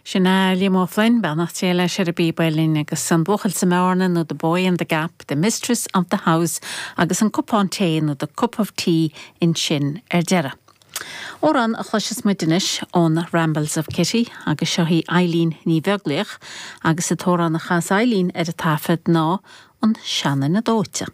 Sin é Liam Ó Floinn, beannacht Dé leis ar an bpíob uilleann, agus an buachaill sa mbearna nó The Boy in the Gap, The Mistress of the House agus an cupán tae nó The Cup of Tea ansin ar deireadh. Amhrán a chloisfeas muid anois ón Rambles of Kitty agus seo í Eileen Ní Bheaglaoich agus an t-amhrán a chas Eileen ar an taifead ná An Seanduine Dóite.